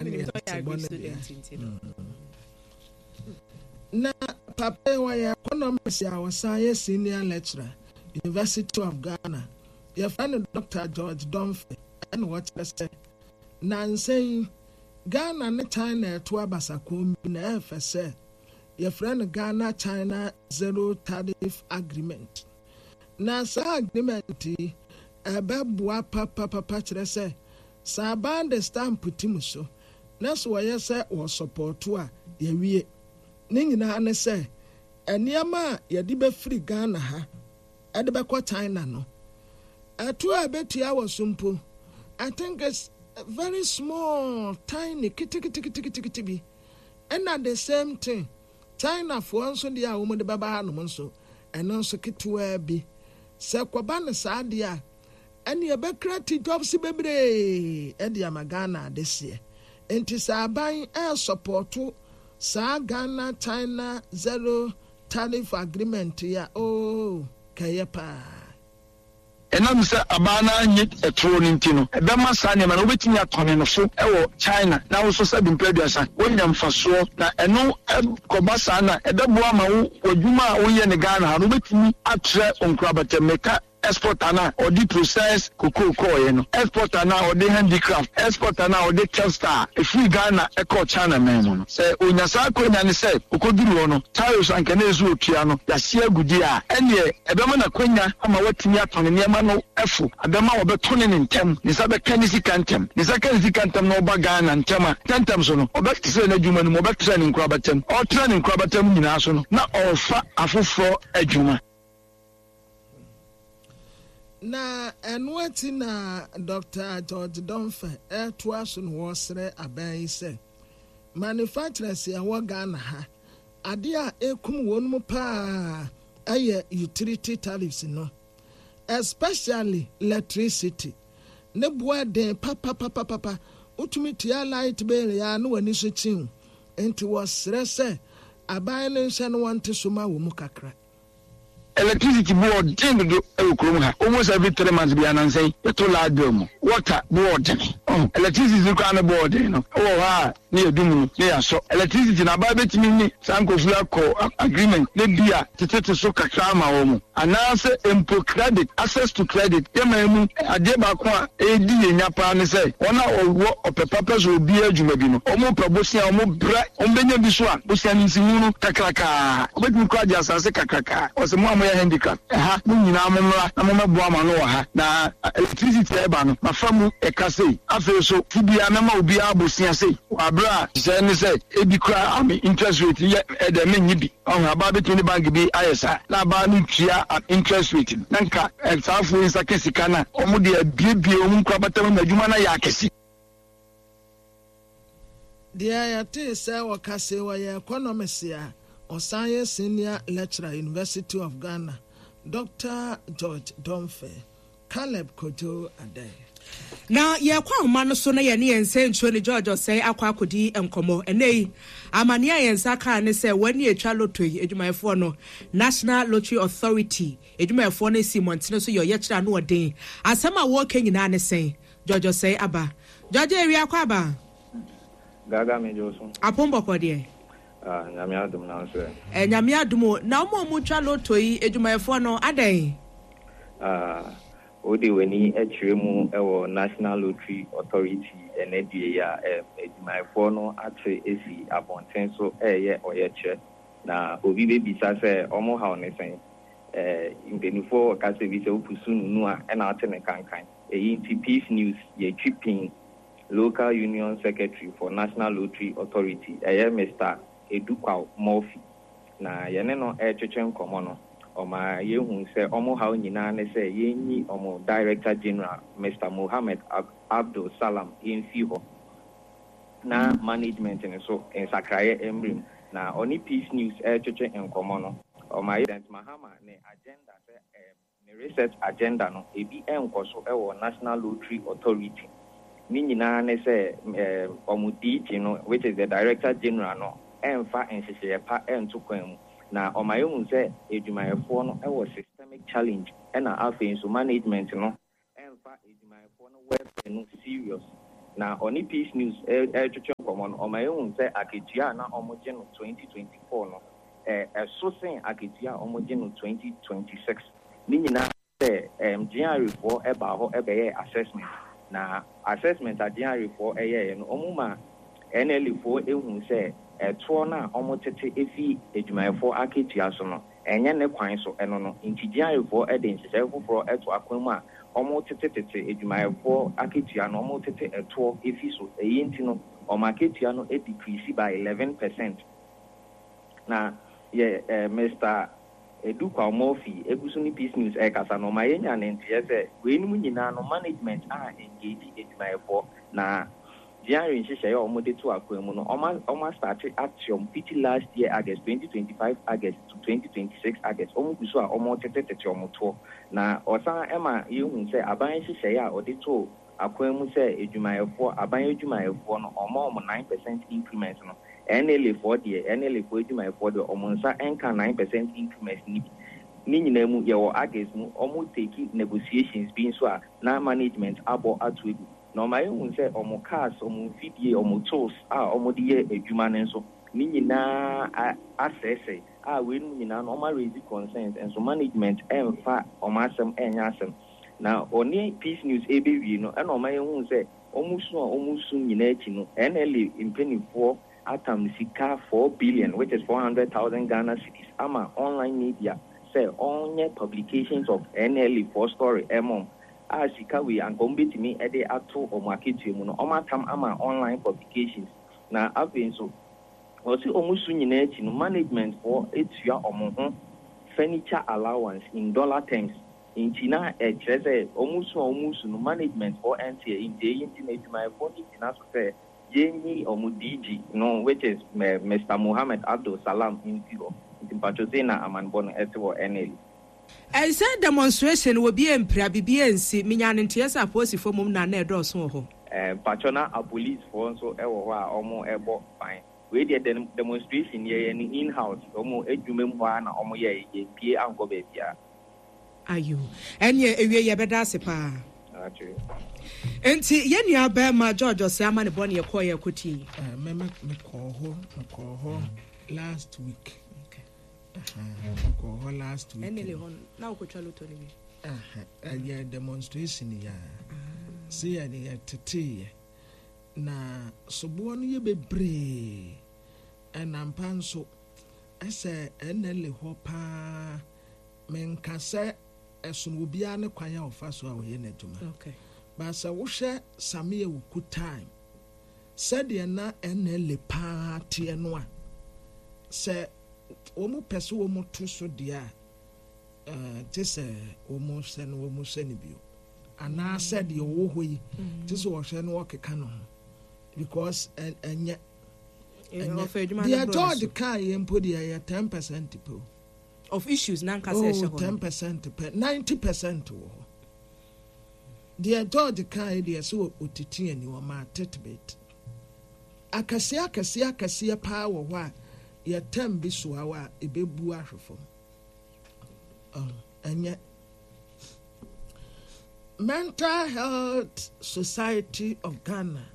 Menim sɛ ɔyɛ Te agri bɔ ne student deɛ. nti no. Na papa yi ɔyɛ economist a ɔsan yɛ senior lecturer, University of Ghana. Yɛfrɛ no Dr. George Domfe ɛna ɔkyerɛ sɛ nansa yi Ghana ne China ɛto abasakɔn bi na ɛyɛ fɛ sɛ yɛfrɛ no Ghana China Zero Tariff Agreement. Na saa agreement yi ɛbɛboa papapapa kyerɛ sɛ sɛ aban de stamp tim so na sɛ wɔyɛ sɛ wɔsupporto a yɛwie. Ne nyinaa ne sɛ nneɛma a yɛde bɛfiri Ghana ha ɛde bɛkɔ China no ɛto a ɛbɛtua wɔ so mpo I think it's very small tiny keteketeketekete bi ɛna the same thing Chinafoɔ nso deɛ a wɔn de bɛba hanom nso ɛno nso ketewaa bi sɛ kɔba no saa deɛ a ɛne ɛbɛkra ti jobs bebree ɛde ama Ghana adeseɛ nti sɛ aban ɛresupporto saa Ghana China Zero Tariff Agreement yi a ooo kɛyɛ paa. Ɛnam sɛ abaa no annye ɛtoɔ no nti no, ɛbɛma saa nneɛma no wobɛtumi atɔne no fo wɔ China na wo nso sɛbe mprɛ aduasa woanya mfasoɔ. Na ɛno kɔba saa no a, ɛbɛboa ama wo w'adwuma a woyɛ no Ghana ha no wobɛtumi atrɛ wo nkorabata mu. Meka exporter no a ɔde process cocoa kɔɔeɛ no, exporter no a ɔde handicraft, exporter no a ɔde textile ɛfiri Ghana kɔɔ China man mu no. Sɛ ɔnya saa akwanya no sɛ ɔkɔduru hɔ no, tariffs a anka na ɛsɛ sɛ ɔtua no, yɛahye agu deɛ a, ɛnneɛ ɛbɛma no akwanya ama watumi atɔn ne nneɛma no fo, ɛbɛma wɔbɛtɔne no ntɛm, ne nsa bɛka ne sika ntɛm. Ne nsa ka ne sika ntɛm na ɔba Ghana ntɛm a, ntɛmntɛm so no, ɔbɛtrɛ n'adwuma no mu, ɔbɛtrɛ ne nkorabata mu. Ɔretrɛ ne nkorabata mu nyinaa so no, na ɔrefa afoforɔ adwuma. Na ɛno akyi na Dr. George Domfe ɛretoa so na wɔresrɛ aban yi sɛ manufacturers a ɛwɔ Ghana ha adeɛ a ɛkum wɔn mu paa ɛyɛ utility tariffs no especially electricity ne boa den papapapapa wotumi tua light bill ya na w'ani so kyiw nti wɔsrɛ sɛ aban no nhyɛ no wɔnte so ma wɔ mu kakra. Electricity bo ɔden dodo wɔ kurom ha. Almost every 3 months bi anansa yi yɛto light bill mu. Water bo ɔden. Ɔho electricity no koraa ne bo ɔden no wɔ hɔ a ne yɛdum no ne yɛasɔ. Electricity no aban bɛtumi ne saa nkurɔfo yi akɔ agreement ne bi a tetete so kakra ama wɔn. Anaasɛ mpo credit, access to credit. Yɛn man mu adeɛ baako a ɛredi yɛn nya paa ne sɛ wɔn a wɔwɔ ɔpɛ pa pɛ sɛ wɔbue adwuma bi no, wɔpɛ bosea, wɔbrɛ, wɔbɛnya bi so a, bosea no nsiho no kakrakaa. Wɔbɛtumi koraa agye asase kakrakaa. Wɔse mo a moyɛ handicraft, ɛha, mo nyinaa mommra na mommɛboa mo ano wɔ ha. Na electricity a ɛba no, mafa mu ɛka sei. Afei nso, ti biara mɛma obiara bosea sei. Wɔ aberɛ a nhyehyɛeɛ ne sɛ ebi koraa ame interest rate yɛ ɛdɛ mennye bi. Ɔho, abaa bɛtumi ne bank bi ayɛ saa, na abaa no tua interest rate no, na nka saa afoɔ yi nsa ka sika no a, wɔn de abuebue wɔn nkorabata mu ma adwuma no ayɛ akɛse. Deɛ yɛtee sɛ wɔka se ɔyɛ economist a ɔsan yɛ senior lecturer University of Ghana, Dr. George Domfe, Caleb Kojo Adai. Na yɛkɔ ahoma no so na yɛne yɛn nsɛntwerɛ ne George Ɔsɛe akɔ akɔdi nkɔmmɔ. Ɛnnɛ yi, amanneɛ a yɛn nsa kaa ne sɛ wɔn ani atwa lotto yi adwumayɛfoɔ no, National Lottery Authority adwumayɛfoɔ no asi mmɔntene so yɛ ɔyɛkyerɛ ano ɔden. Asɛm a wɔreka nyinaa ne sɛn? George Ɔsɛe aba. George awia akɔ aba. Gaga me gye so. Apom bɔkɔ deɛ. Ah, Nyame adom na nso ɛ. Ɛ Nyame adom o. Na wɔn a wɔtwa lotto yi adwumayɛfoɔ no adɛn? Ah, wode w'ani kyerɛ mu wɔ National Lottery Authority ɛnɛ die yi a, adwumayɛfoɔ no ate asi abɔnten so reyɛ ɔyɛkyerɛ. Na obi bɛbisa sɛ wɔn haw ne sɛn? Mpanimfoɔ wɔ kasa bi sɛ wopusu nunu a ɛna wote ne kankan. Eyi nti Peace News yɛtwi pin Local Union Secretary for National Lottery Authority, ɛyɛ Mister Edukwaw Murphy, na yɛne no retwetwe nkɔmmɔ no, ɔma yɛhuu sɛ wɔn haw nyinaa ne sɛ yɛnyi wɔn Director General, Mister Mohammed Abdul Salam mfi hɔ na management no so nsakraeɛ mmra mu. Na ɔne Peace News retwetwe nkɔmmɔ no, ɔma yɛ President Mahama ne agenda sɛ ne research agenda no, ebi nkɔ so wɔ National Lottery Authority. Ne nyinaa ne sɛ wɔn DG no, which is the Director General no, mfa nhyehyɛeɛ pa nto kwan mu. Na ɔma yɛhu sɛ adwumayɛfoɔ no wɔ systemic challenge, ɛna afei nso management no mfa adwumayɛfoɔ no welfare no serious. Na ɔne Peace News retwetwe nkɔmmɔ no, ɔma yɛhuu sɛ akatua a na wɔgye no 2024 no, ɛso sen akatua a wɔgye no 2026. Ne nyinaa ne sɛ, GRA foɔ baa hɔ bɛyɛɛ assessment. Na assessment a GRA foɔ yɛeɛ no, wɔma NLA foɔ huu sɛ ɛtoɔ no a wɔtete fi adwumayɛfoɔ akatua so no, Ɛnyɛ ne kwan so ɛno no nti GRAfoɔ de nhyehyɛe foforɔ to akwan mu a wɔtete tete adwumayɛfoɔ akatua no, wɔtete ɛtoɔ fi so. Ɛyi nti no wɔn akatua no decrease by 11%. Na yɛ Mister Adu Kwaw Murphy gu so ne Peace News rekasa no, ɔma yɛnya ne nteɛ sɛ weinom nyinaa no management a engage adwumayɛfoɔ na GRA nhyehyɛe a wɔde to akwan mu no, wɔastate ateɔm fiti last year August, 2025 August to 2026 August, wɔgu so a wɔretetetete wɔn toɔ. Na ɔsan ma yɛhu sɛ aban nhyehyɛe a ɔde too akwan mu sɛ adwumayɛfoɔ, aban adwumayɛfoɔ no, wɔma wɔn 9% increment no, NLA foɔ deɛ, NLA foɔ adwumayɛfoɔ deɛ, wɔn nsa nka 9% increment no bi. Ne nyinaa mu, yɛwɔ August mu, wɔretake negotiations bi nso a na management abɔ ato agu. Na ɔma yɛhu sɛ wɔn cars, wɔn mfidie, wɔn tools a wɔde yɛ adwuma no nso, ne nyinaa asɛesɛe. A weinom nyinaa no, wɔn a raise concerns, nso management mfa wɔn asɛm nyɛ asɛm. Na ɔne Peace News rebɛwie no, ɛna ɔma yɛhuu sɛ wɔn su a wɔresu nyinaa akyi no, NLA mpanimfoɔ atam sika 4 billion, which is 400,000 Ghana cedis, ama online media sɛ ɔnyɛ publications of NLA foɔ story ɛmɔ wɔn. A sika wei anka wɔn bɛtumi de ato wɔn akatua mu no, wɔn atam ama online publications. Na afei nso, wɔsi wɔn su nyinaa akyi no, management foɔ etua wɔn ho furniture allowance in dollar terms. Nti na ɛkyerɛ sɛ wɔn su a wɔn su no, management foɔ ɛnteɛ. Nti eyi nti na adwumayɛfoɔ no gyina so sɛ yɛnyi wɔn DG no, which is Mr. Mohammed Abdul Salam, mfi hɔ. Nti mpatwo sei na amanbɔ no ɛte wɔ NLA. Ɛnsɛ demonstration wɔ bi mpira bibi nsi menya ne nteɛ sɛ apolisifoɔ mom na na ɛdɔɔso wɔ hɔ. Mpatwo, na apolisifoɔ nso ɛwɔ hɔ a wɔn ɛbɔ ban. Wei deɛ, demonstration yɛyɛ no in house, wɔn adwuma mu hɔ a na wɔn yɛ, yɛmpie ankɔ baabiara. Ayo, ɛneɛ ewie yɛbɛda ase paa. Nti yɛn nua bɛrima George ɔsɛ ama ne bɔ ne yɛkɔɔ yɛ kɔtie. Mekɔɔ hɔ last week. Mekɔɔ hɔ last week. Ɛnele hɔ na wokɔtwa lotto no bi? Ɛyɛ demonstration yɛ a sɛ yɛde yɛteteeɛ na soboɔ no yɛ bebree. Ɛnampa nso ɛsɛ ɛnele hɔ paa. Menka sɛ ɛsono obiara ne kwan a ɔfa so a ɔyɛ n'adwuma, ba sɛ wohwɛ Sammy Awuku time sɛdeɛ na NLA paa teɛ no a, sɛ wɔn pɛ sɛ wɔn to so deɛ a, te sɛ wɔn hyɛ no, wɔn hyɛ no bio anaasɛ deɛ ɔwɔ hɔ yi te sɛ ɔhwɛ no ɔkeka no ho, because ɛnyɛ deɛ George kaa yɛ mpo deɛ ɛyɛ 10% pɛ of issues na nkasa ɛhyɛ hɔ. Oh, 10% pɛ, 90% wɔ hɔ. Deɛ George kaa yi deɛ, sɛ otiti ani wɔn a tidbit akɛseɛ akɛseɛ akɛseɛ paa wɔ hɔ a yɛtɛm bi so a ebebu ahwɛ fam. Ɛnyɛ Mental Health Society of Ghana,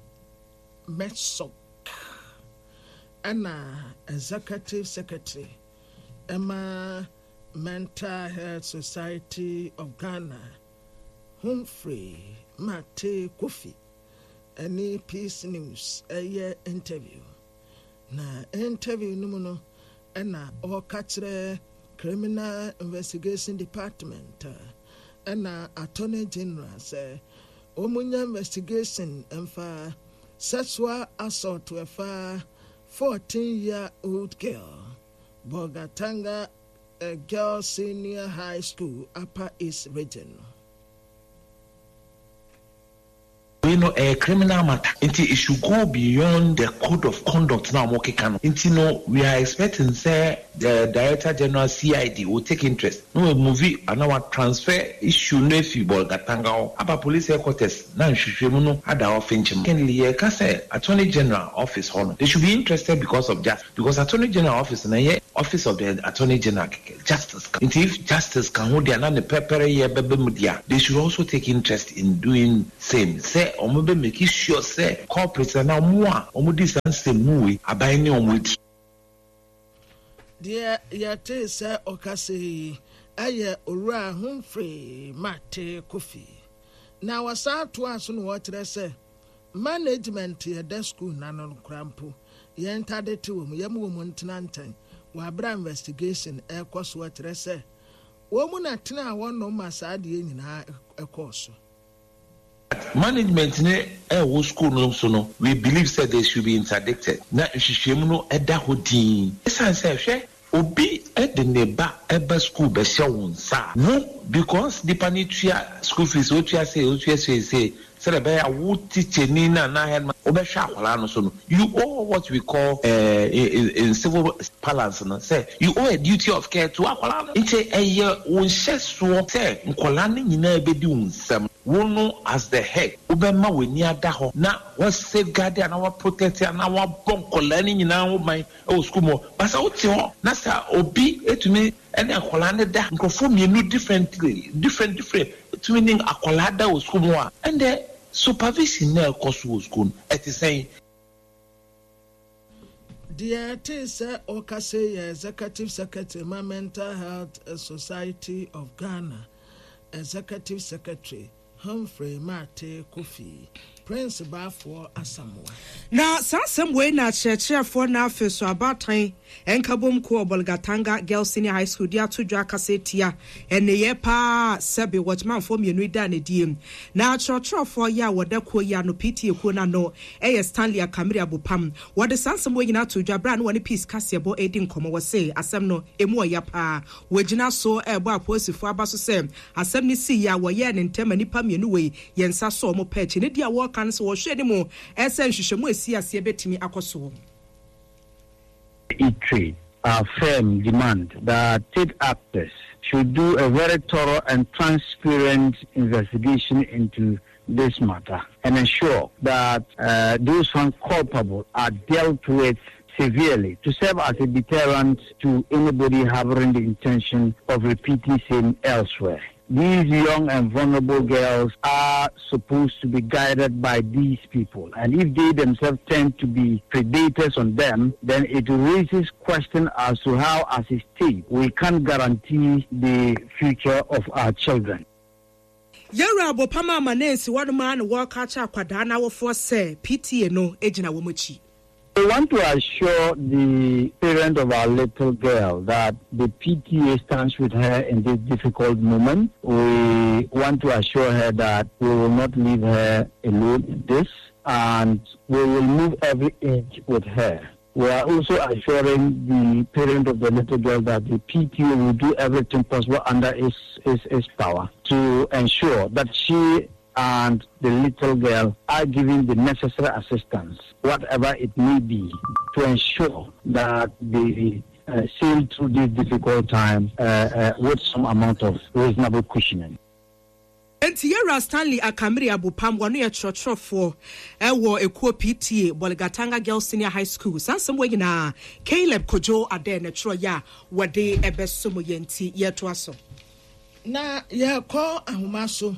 MHSOG, ɛna Executive Secretary ɛma Mental Health Society of Ghana, Humphrey Mate Kofi, ɛne Peace News ɛyɛ interview. Na interview no mu no, ɛna ɔreka kyerɛ Criminal Investigation Department ɛna Attorney General sɛ wɔn nya investigation mfa sexual assault ɛfa 14 year old girl, Bolgatanga Girls Senior High School, Upper East Region no. Wei no ɛyɛ criminal matter nti it should go beyond the code of conduct na wɔn keka no. Nti no we are expecting sɛ the Director General CID will take interest na wa move anaa wa transfer issue no afi Bolgatanga hɔ aba police headquarters na nhwehwɛmu no ada hɔ finkyim. Secondly, yɛreka sɛ Attorney General office hɔ no, they should be interested because of just because Attorney General office no ɛyɛ. Office of the Attorney General kɛkɛ, Justice ka ho. Nti if Justice ka ho deɛ a na ne pɛpɛrɛyɛ bɛba mu deɛ a, they should also take interest in doing same sɛ wɔn bɛ make sure sɛ culprits anaa wɔn a wɔn di saa nsɛmmu wei, aban ne wɔn adi. Deɛ yɛtee sɛ ɔkasa yi yɛ Owura Humphrey Martey Kofi. Na ɔsan toaa so na ɔkyerɛ sɛ management yɛda school no ano no koraa mpo yɛn ntade te wɔn, yɛma wɔn ntena nkyɛn wɔ abere a investigation ɛrekɔ so ɔkyerɛ sɛ wɔn na tenaa hɔnom ma saa adeɛ nyinaa ɛkɔɔ so. Management no ɛwɔ school no so no, we believe sɛ they should be interdicted na nhwehwɛmu no ɛda hɔ dinn. Ɛsiane sɛ hwɛ obi de ne ba ba school bɛhyɛ wo nsa a, wo because nipa no tua school fees, otua sei, otua sei sei, sɛdeɛ ɛbɛyɛ a wo tikyani no anaa headmaster wobɛhwɛ akwadaa no so no, you owe what we call in civil parlance no sɛ you owe a duty of care to akwadaa no. Nti ɛyɛ wo nhyɛsoɔ sɛ nkwadaa no nyinaa bɛdi wo nsam. Wo no as the head wobɛma w'ani ada hɔ na wa safeguard anaa wa protect anaa wabɔ nkwadaa no nyinaa ho ban wɔ sukuu mu hɔ. But sɛ wote hɔ na sɛ obi tumi ne akwadaa no da, nkurɔfoɔ mmienu differently, different different tumi ne akwadaa da wɔ sukuu mu hɔ a, ɛnde supervision no a ɛkɔ so wɔ sukuu no, ɛte sɛn? Deɛ ɛtee sɛ ɔrekasa yi yɛ Executive Secretary ma Mental Health Society of Ghana, Executive Secretary Humphrey Martey Kofi, Prince Baafoɔ Asamoah. Na saa asɛm wei na akyerɛkyerɛfoɔ na afei so abaatan nkabom kuo wɔ Bolgatanga Girls Senior High School de ato dwa akasa atia nneyɛɛ paa a sɛbe wɔkymanfoɔ mmienu yi daa no adie. Na akyerɛkyerɛfoɔ yi a wɔda kuo yi ano, PTA kuo no ano, yɛ Stanley Akamiri Abopam. Wɔde saa nsɛm wei nyinaa too dwa berɛ a na wɔne Peace Kaseɛbɔ redi nkɔmmɔ. Wɔse asɛm no, ɛmu ɔya paa. Wɔgyina so rebɔ apolisifoɔ aba so sɛ asɛm no siiɛ a wɔyɛɛ no ntɛm ma nnipa mmienu wei yɛn nsa sɔɔ wɔn pɛ akyi. Ne deɛ a wɔreka ne sɛ wɔhwɛ anim sɛ nhwehwɛmu a ɛsii aseɛ bɛtumi akɔ soɔ. Reiterate our firm demand that state actors should do a very thorough and transparent investigation into this matter and ensure that uh, those found culpable are dealt with severely to serve as a deterrent to anybody harboring the intention of repeating same elsewhere. These young and vulnerable girls are supposed to be guided by these people. And if they themselves tend to be predators on them, then it raises question as to how, as a state, we can guarantee the future of our children. Yɛwura Abopama ama no ansi hɔnom ara na wɔreka akyerɛ akwadaa no awofoɔ sɛ PTA no gyina wɔn akyi. We want to assure the parent of our little girl that the PTA stands with her in this difficult moment. We want to assure her that we will not leave her alone in this and we will move every inch with her. We are also assuring the parent of the little girl that the PTA will do everything possible under its, its, its power to ensure that she and the little girl are given the necessary assistance, whatever it may be, to ensure that they uh, sail through this difficult time uh, uh, with some amount of reasonable cushioning. Enti Yɛwura Stanley Akamiri Abupam, wɔno yɛ kyerɛkyerɛfoɔ wɔ ekuo PTA, Bolgatanga Girls Senior High School. Saa nsɛm wei nyinaa, Caleb Kojo Adeh na ɛtwerɛeɛ a wɔde bɛsom yɛn nti yɛretoa so. Na yɛrekɔ ahoma so.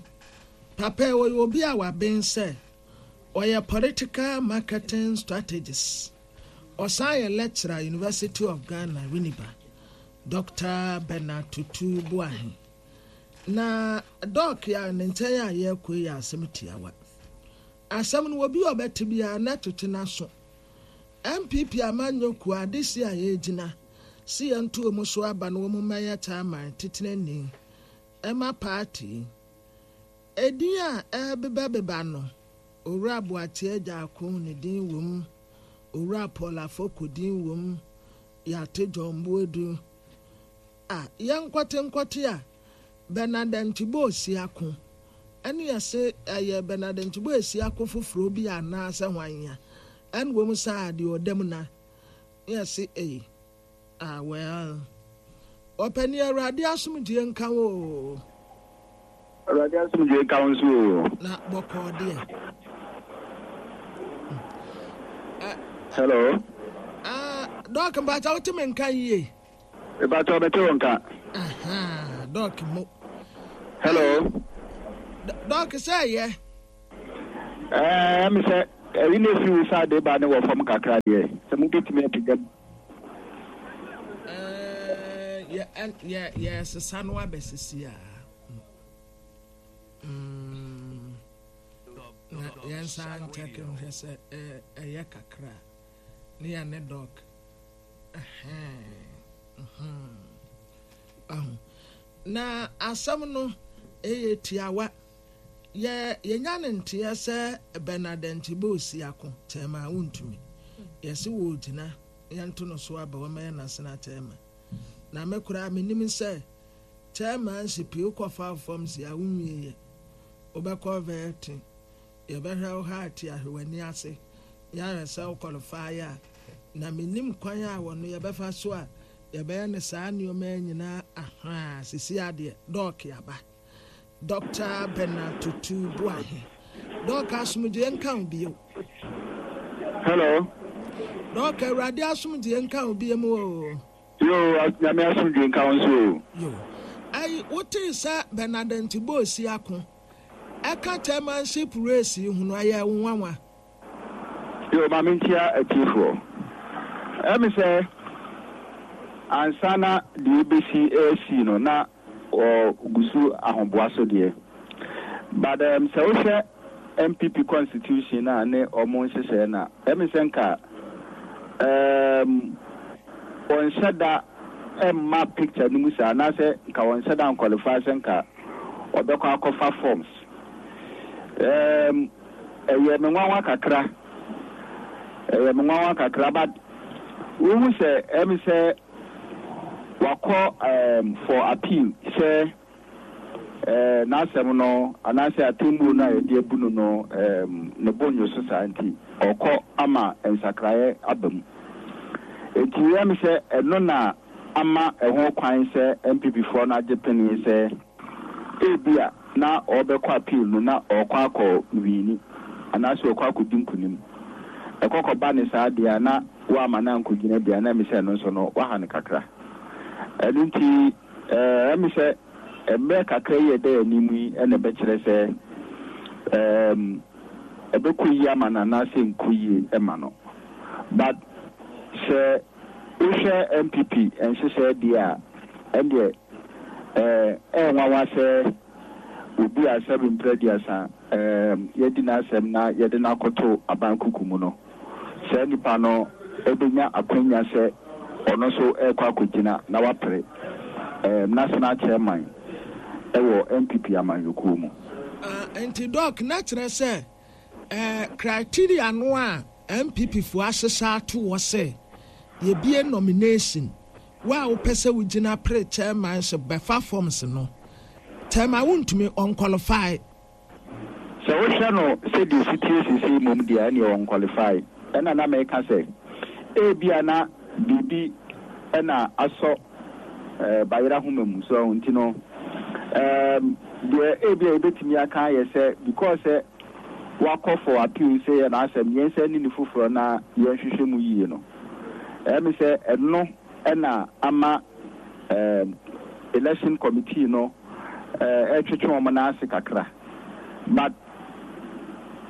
Papa yi ɔyɛ obi a waben sɛ ɔyɛ political marketing strategist. Ɔsan yɛ lecturer University of Ghana, Winneba. Doctor Bernard Tutu Boahen. Na Doc a ne nkyɛn a yɛrekɔ yi yɛ asɛm tiawa. Asɛm no obi a ɔbɛte biara na ɛtwetwe n'aso. NPP amanyɔ kuo adehye a yɛregyina se yɛnto wɔn so aba na wɔn mmɛyɛ chairman titenani ɛma party yi. Edin a ɛrebebabeba no, Owura Boakye Agyarko ne din wɔ mu, Owura Paul Afoko din wɔ mu, Yate John Boadu. A yɛnkɔte nkɔte a, Bernard Antibor Siako ɛne yɛse ɛyɛ Bernard Antibor Siako foforɔ bi anaasɛ hwan a, ɛne wɔn saa deɛ ɔda mu na yɛse ei. Ah well. Ɔpɛni Awurade asomdwie nka wo oo. Awurade asomdwie nka wo nso oo. Na bɔkɔɔ deɛ. Hello. Ah, Doc mpakyɛ wote me nka yie? Mepakyɛw mete wo nka. Ahaa Doc mo. Hello. Doc sɛ ɛyɛ. Ɛɛ ɛmi sɛ ɛyi na efi wo side ba ne wɔ fam kakra deɛ sɛ mo betumi apagya mu. Ɛɛ yɛ yɛ yɛ sesa no abɛsisi a. Mm, na yɛn nsa nkyɛke nhwɛ sɛ ɛyɛ kakra ne yɛ ne dɔk. Na asɛm no ɛyɛ tiawa. Yɛ yɛnya ne nteɛ sɛ Bernard Ntibo Siako kyɛɛma a wontumi. Yɛse wɔgyina yɛnto no so aba wɔmɛyɛ nasena kyɛɛma. Na me koraa menim sɛ Chairmanship yi wokɔ fa fam si a wonwie yɛ. Wobɛkɔ vetting, yɛbɛhwɛ wo heart ahwɛ w'ani ase yɛahwɛ sɛ wo qualify a. Na mennim kwan a wɔno yɛbɛfa so a yɛbɛyɛ no saa nnoɔma yi nyinaa ahaa sisi adeɛ Doc aba. Doctor Bernard Tutu Boahe. Doc asomdwoeɛ nka wo bio. Hello. Doc Awurade asomdwoeɛ nka wo bio mu oo. Yoo Nyame asomdwie nka wo nso oo. Yoo. Ɛyi wotee sɛ Bernard Ntibɔ Osiako ɛka chairmanship race yi ho no ɛyɛɛ wo nwanwa? Yoo ma menkyia atiefoɔ. Ɛyɛ me sɛ ansa na deɛ ɛbɛsi ɛresi no na wɔ gu so ahoboa so deɛ but um, sɛ wohwɛ NPP constitution a ne ɔmo nhyehyɛɛ no a ɛme sɛ nka um, wɔnhyɛ da mma picture no mu saa anaasɛ nka wɔnhyɛ da nqualify sɛ nka ɔbɛkɔ akɔfa forms um, ɛyɛ me nwanwa kakra ɛyɛ me nwanwa kakra but wohu sɛ ɛme sɛ Wakɔ um for appeal sɛ eh, n'asɛm no anaasɛ atemmuo no a yɛde abu no no um, ne bo nnwo so saa nti ɔkɔ ama nsakraeɛ aba mu. Enti ɛyɛ me sɛ ɛno na ama ɛho kwan sɛ NPP foɔ no agye pene sɛ ebia na ɔrebɛkɔ appeal no na ɔrekɔ akɔ wiini anaasɛ ɔrekɔ akɔdi nkunim. Ɛkɔ kɔba ne saa deɛ a na woamma no ankɔgyina bi a, na ɛme sɛ ɛno nso no, woaha no kakra. Ɛno nti, ɛme sɛ mmerɛ kakra yi a ɛda yɛn anim yi na ɛbɛkyerɛ sɛ ɛbɛkɔ yie ama no anaasɛ ɛnkɔ yie mma no. But sɛ wohwɛ NPP nhyehyɛɛ deɛ a, ɛndeɛ ɛyɛ nwanwa sɛ obi a sɛbe mprɛ aduasa yɛadi n'asɛm na yɛde no akɔto aban kuku mu no, saa nipa no bɛnya akwanya sɛ ɔno nso rekɔ akɔgyina na wapere national chairman wɔ NPP amanyɔkuo mu. Ah, nti Doc, na kyerɛ sɛ eh, criteria no a NPP foɔ ahyehyɛ ato hɔ sɛ yɛbie nomination, wo a wopɛ sɛ wogyina pere chairmanship bɛfa forms no, chairman wontumi, ɔnqualify. Sɛ wohwɛ no sɛdeɛ ɛsi teɛ seesei mmom deɛ a, ɛnneɛ ɔnqualify. Ɛna na meka sɛ, ebia na biribi na asɔ bayerɛ ahoma mu, so ahu, nti no, ɛɛm, deɛ ebia yɛbɛtumi aka ayɛ sɛ, because sɛ wakɔ for appeal sɛ yɛ n'asɛm, yɛnsan nni no foforɔ na yɛnhwehwɛ mu yie no, ɛyɛ me sɛ ɛno na ama ɛɛm, election committee no ɛretwetwe wɔn nan ase kakra but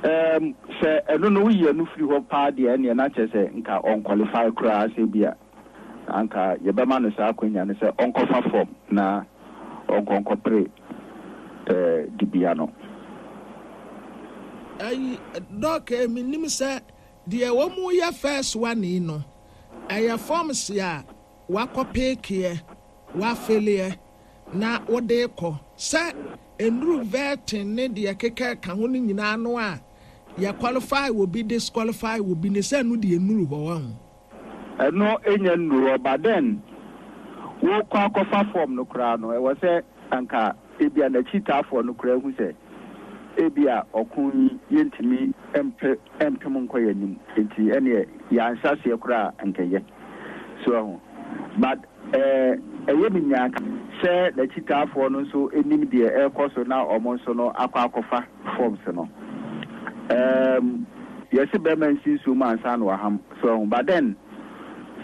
ɛɛm, sɛ ɛno no woyi ɛno firi hɔ paa deɛ ɛneɛ na kyerɛ sɛ nka ɔnqualify koraa sɛ bi a anka yɛbɛma no saa akwanya no sɛ ɔnkɔfa form na ɔnkɔ nkɔpere ɛɛ dibea no. Ayi Doc eh, menim sɛ deɛ wɔn yɛ first one yi no ɛyɛ forms a wakɔ peekeɛ, wafeleɛ na wode rekɔ. Sɛ nnuru vetting ne deɛ ɛkeka ɛka ho no nyinaa no a yɛ qualify obi disqualify obi no sɛ ɛno deɛ nnuru hɔ wahu. Ɛno nnya nnuru hɔ but then wokɔ akɔfa form no koraa no ɛwɔ sɛ anka ebia n'akyitaafoɔ no koraa hu sɛ ebia ɔko yi yɛntumi mpe mpem nkɔ yɛn anim nti ɛneɛ yɛanhyɛ aseɛ koraa a anka ɛyɛ. So wahu? But eh, ɛyɛ me nyaa sɛ n'akyitaafoɔ no nso nim deɛ ɛrekɔ so na wɔn nso no akɔ akɔfa forms no. Um, yɛse bɛrima nsi nsuo mu ansa na waham. So wahu? But then,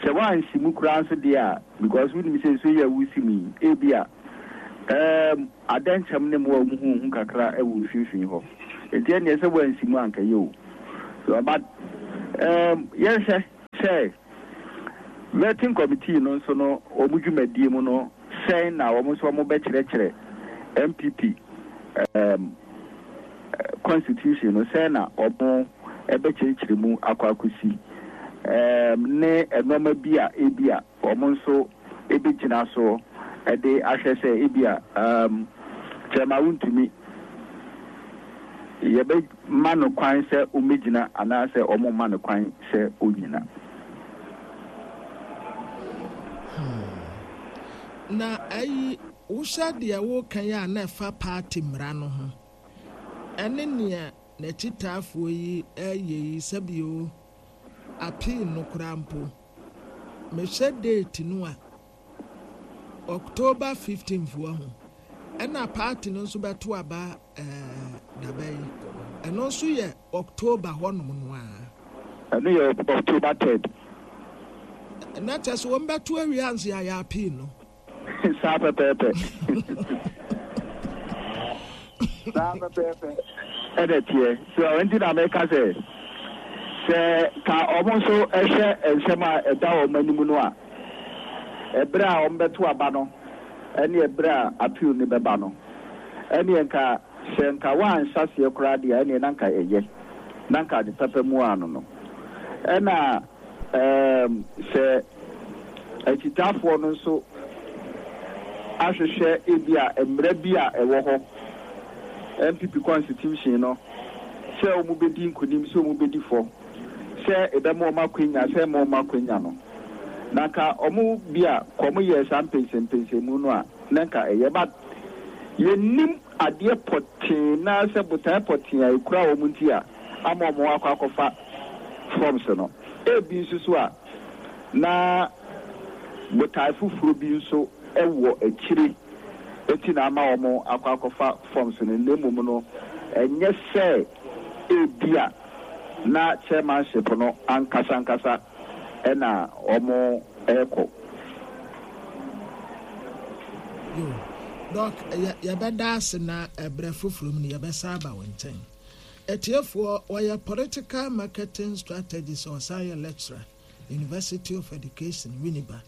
Sɛ woansi mu koraa nso deɛ a, because wonim sɛ nsuo yi a woresi mu yi, ebia ɛɛm adɛnkyɛm ne mmoa a wɔn ho hu kakra wɔ mfimfini hɔ. Nti ɛnneɛ sɛ woansi mu a anka ɛyɛ o. So but ɛɛm yɛnhwɛ sɛ vetting committee no nso no wɔn dwumadie mu no sɛn na wɔn nso wɔbɛkyerɛkyerɛ NPP ɛɛm constitution no sɛn na wɔbɛkyerɛkyerɛ mu akɔ akɔsi ne nnoɔma bi a ebia wɔn nso bɛgyina so de ahwɛ sɛ ebia kyerɛma wontumi yɛbɛma no kwan sɛ ɔmmɛgyina anaasɛ wɔmma no kwan sɛ ɔnnyina. Hmm. Na ayi Wohwɛ deɛ woreka yi a na ɛfa party mmara no ho ɛne nea n'akyitaafoɔ yi reyɛ yi sɛbio appeal no koraa mpo mehwɛ date no a October 15th wahu ɛna party no nso bɛto aba ɛɛ dabɛn ɛno nso yɛ October hɔnom no ara. Ɛno yɛ October 3rd. Na kyɛ sɛ wɔn bɛto awie ansa yɛayɛ appeal no. Saa pɛpɛɛpɛ. Saa pɛpɛɛpɛ ɛna ɛteɛ. So ɛnti na meka sɛ, sɛ ka wɔn nso hwɛ nsɛm a ɛda wɔn anim no a, ɛberɛ a wɔbɛto aba no ɛne ɛberɛ a appeal no bɛba no, ɛneɛ nka sɛ nka wɔanhyɛ aseɛ koraa deɛ a, ɛneɛ na nka ɛyɛ, na nka ade papa mu ano no. Ɛna. Erm sɛ akyitaafoɔ no nso ahwehwɛ ebia mmara bi a ɛwɔ hɔ, NPP constitution no, sɛ wɔn bɛdi nkunim, sɛ wɔn bɛdi fɔ, sɛ ɛbɛma wɔn akwanya, sɛ ɛmma wɔn akwanya no, na nka wɔn bi a kɔ wɔn yɛɛ saa mpɛnsɛmpɛnsɛmu no a, na nka ɛyɛ. But yɛnnim adeɛ pɔtee naa sɛ botaeɛ pɔtee a ɛkura wɔn nti a ama wɔn akɔ akɔfa forms no. Ebi nso so a, na botae foforɔ bi nso wɔ akyire nti na ama wɔn akɔ akɔfa forms no, na mmom no, ɛnyɛ sɛ ebia na chairmanship no ankasa ankasa na wɔrekɔ. Yo, Doc, yɛbɛda ase na ɛberɛ foforɔ mu no yɛbɛsan aba wo nkyɛn. Atiefoɔ, ɔyɛ Political Marketing Strategist a ɔsan yɛ Lecturer, University of Education, Winneba,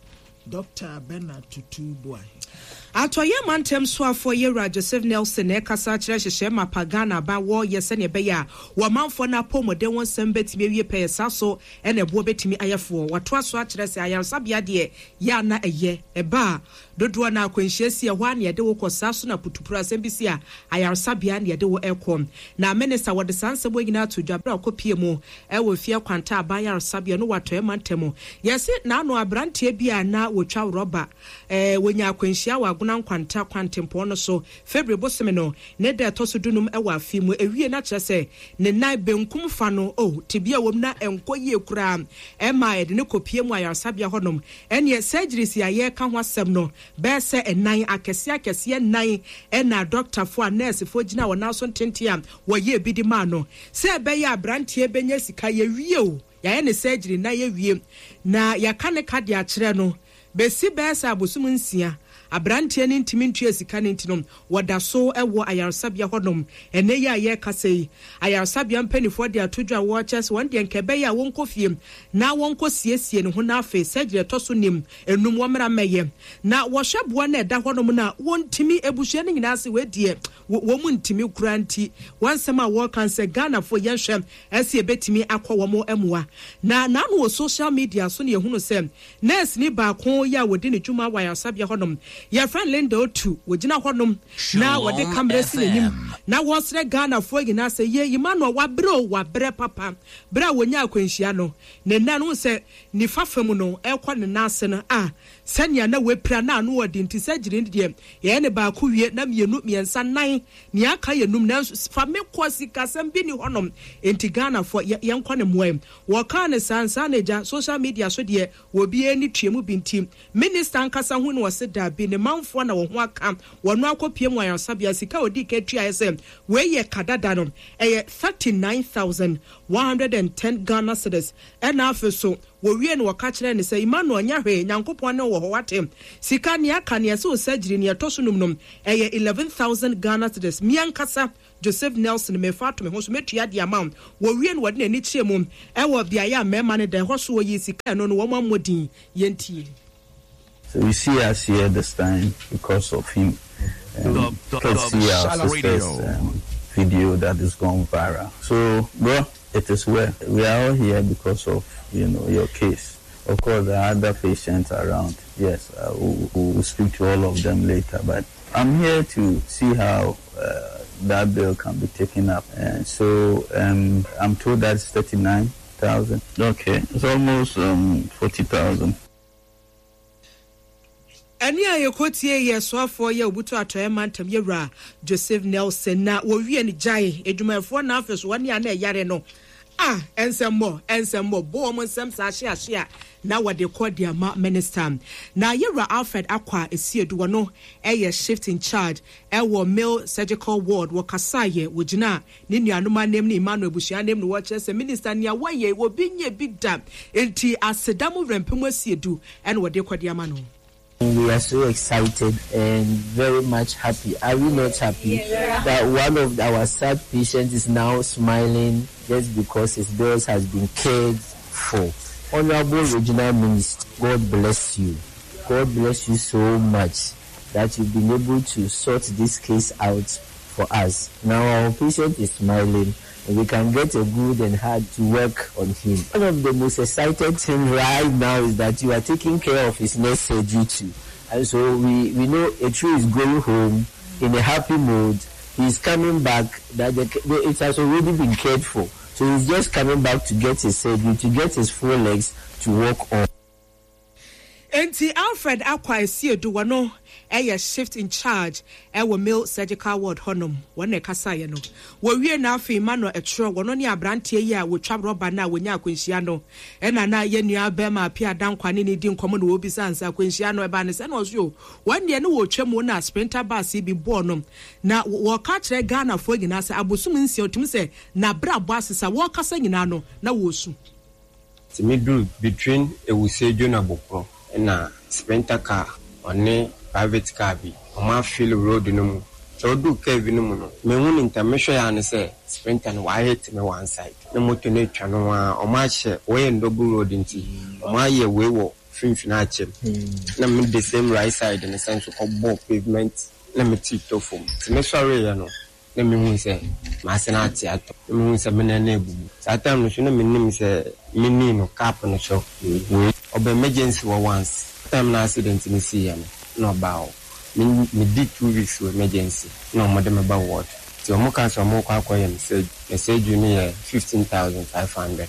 Dɔkta Bernard Tutu Boahe. Atɔeɛ Mantam Soafoɔ Yewura Joseph Nelson na ɛrekasa akyerɛ nhyehyɛɛ mapa Ghana aban wɔ yɛ sɛdeɛ ɛbɛyɛ a wɔ manfoɔ no apɔwmuden ho nsɛm bɛtumi awie pɛyɛ saa so na ɛboɔ bɛtumi ayɛ foɔ. Watoa so akyerɛ sɛ ayaresabea deɛ yɛ a na ɛyɛ ɛba a Dodoɔ no ara akwanhyia si ɛhɔ ara na yɛde wo kɔ, saa so na putupuru asɛm bi si a, ayaresabea na yɛde wo kɔ. Na Minista wɔde saa nsɛm wei nyinaa too dwa berɛ a ɔkɔpie mu wɔ Mfeɛ Kwanta Aban Ayaresabea no wɔ Atɔeɛ Mantam. Yɛse n'ano aberanteɛ bi a na wɔtwa rɔba, wɔnyaa akwanhyia wɔ Agona Nkwanta kwantempɔn no so February bosome no ne da ɛtɔ so dunum wɔ afe mu. Ɛwie na kyerɛ sɛ ne nan benkum fa no, oh, tebea a ɛwɔ mu na ɛnkɔ yie koraa ɛmaa yɛde no kɔpie mu ayaresabea hɔnom. Ɛnneɛ surgeries yi a yɛreka ho asɛm no, bɛyɛ sɛ nnan, akɛseɛ akɛseɛ nnan na dɔktafoɔ a nɛɛsefoɔ gyinaa wɔn nan so ntenten a wɔyɛɛ bi de maa no. Sɛ ɛbɛyɛ a aberanteɛ bɛnya sika, yɛwie o, yɛayɛ ne surgery na yɛawie, na yɛaka ne ka de akyerɛ no, bɛsi bɛyɛ sɛ abosom nsia, aberanteɛ no ntumi ntua sika no nti no, wɔda so wɔ ayaresabea hɔnom. Ɛnnɛ yi a yɛrekasa yi, ayaresabea mpanimfoɔ de ato dwa a wɔrekyerɛ sɛ wɔn deɛ nka ɛbɛyɛ a wɔnkɔ fie na wɔnkɔ siesie ne ho na afei surgery ɛtɔ so nim enum wɔmmra mmɛyɛ. Na wɔhwɛ boɔ no a ɛda hɔnom no a, wɔntumi, abusua no nyinaa se wei deɛ wɔn ntumi koraa nti wɔn nsɛm a wɔreka no sɛ Ghanafoɔ yɛnhwɛ ɛsɛ yɛbɛtumi akɔ wɔn mmoa. Na n'ano wɔ social media so na yɛhunu sɛ nɛɛseni baako yi a wɔdi ne dwuma wɔ ayaresabea hɔnom, yɛfrɛ no Linda Otu, wɔgyina hɔnom na wɔde kamera si n'anim na wɔresrɛ Ghanafoɔ nyinaa sɛ yie Emmanuel wabrɛ o, wabrɛ papa. Berɛ a wɔnyaa akwanhyia no, ne nan no, wohu sɛ nifa fa mu no ɛrekɔ ne nan ase no a, sɛnea na wapira na ano ɔden nti surgery no deɛ yɛyɛ no baako wie na mmienu, mmiɛnsa, nnan, Nea aka yɛ num nanso fa me kɔ sikasɛm bi nni hɔnom enti Ghanafoɔ yɛ yɛnkɔ ne mmoa yi. Wɔkaa no saa nsa na agya social media so deɛ obiara ani tua mu bi nti minister ankasa hu no ɔse dabi. ne manfoɔ na wɔn ho aka wɔn akɔpue mu ayaresabea. Sika a ɔdii kan tuaeɛ sɛ wei yɛ ka dada no, ɛyɛ 39,110 Ghana cedis. Ɛna afei so wɔwiee no wɔka kyerɛɛ no sɛ, Emmanuel, nyɛ hwee, Nyankopɔn ne wo wɔ hɔ, wate? Sika, nea aka, nea ɛsɛ wo surgery, nea ɛtɔ so num no, ɛyɛ 11,000 Ghana cedis. Me ankasa Joseph Nelson, merefa ato me ho so, mɛtua de ama wo. Wɔwie no, wɔde n'ani kyerɛɛ mu wɔ beaeɛ a mmarima no da. Ɛhɔ so wɔyii sika a ɛno no wɔammɔ din. Yɛntie. So you see us here this time because of him and courtesy our sister's um, video that is gone viral. So, bro, it is well. We are all here because of, you know, your case. Of course, there are other patients around. Yes, uh, we'll, we'll speak to all of them later. But I'm here to see how uh, that bill can be taken up. And so um, I'm told that's 39,000. Okay, it's almost um, 40,000. Ɛnne a yɛkɔtiee yɛ soafoɔ yɛ Obutu Atɔeɛ Mantam Yɛwura Joseph Nelson na wɔwie no gyae adwumayɛfoɔ na afei so wɔne a na ɛyare no a ɛnsɛmmɔ ɛnsɛmmɔ bɔ wɔn nsɛm saa hye ahye a na wɔde kɔ de ama minister. Na Yɛwura Alfred Akwa Esiedu wɔno ɛyɛ shift in charge ɛwɔ male surgical ward wɔkasaeɛ wɔgyinaa ne nuanom anam ne Emmanuel abusua anam na wɔkyerɛ sɛ minister nea wɔyɛ yi obi nyɛ bi da enti aseda mu werɛmpem asiedu ɛna wɔde kɔ de ama no. We are so excited and very much happy. Are we not happy that one of our sad patients is now smiling just because his bills has been cared for? Honorable Regional Minister, God bless you. God bless you so much that you've been able to sort this case out for us. Now our patient is smiling and we can get a good and hard to work on him. One of the most excited thing right now is that you are taking care of his next surgery too. And so we, we know Etru is going home in a happy mood. He's coming back, that the, the, it has already been cared for. So he's just coming back to get his surgery, to get his full legs to work on. Enti Alfred Akwa Asiedu wɔno yɛ shift in charge wɔ male surgical ward hɔnom wɔn na ɛkasaeɛ no. Wɔwie no afei Emmanuel Ɛtwerɛ wɔno ne abranteɛ yi a wɔtwa rɔba no a wɔnya akwanhyia no ɛna na yɛn nua bɛrima Appiah Dankwa ne no di nkɔmmɔ na wɔrebisa no sɛ akwanhyia no ɛbaa ne sɛ na ɔse o wɔn deɛ ne wɔretwa mu na sprinter bus yi bi bɔɔ no na wɔka kyerɛ Ghanafoɔ nyinaa sɛ abosom nsia ɔtumi sɛ n'abrabɔ asesa wɔrekasa nyinaa no na wɔresu. Ntsi medur between Ewusiedwo na Bokro na sprinter car ɔne private car bi ɔmo afill road no mu. Ntsi odur curve no mu no mennhu no ntsɛm mehwɛe ara nye sɛ sprinter no ɔahit me one side na moto no etwa no ho ara ɔmo ahyɛ wei yɛ ndouble road ntsi ɔmo ayɛ wei wɔ finimfin akyɛ mu na me the same right side no san so kɔbɔɔ pavement na me tsir tɔ famu ntsi mesoɛree no na mehuu sɛ m'ase no ate atɔ, na mehuu sɛ me nan no abubu. Saa time no nso na mennim sɛ me knee no cap no so wei. Ɔba emergency hɔ once, time no accident no siiɛ no na ɔbaa hɔ. Me medi 2 weeks wɔ emergency na wɔde me ba ward. Nti wɔn kaa sɛ wɔrekɔ akɔyɛ me surgery, na surgery no yɛ 15,500.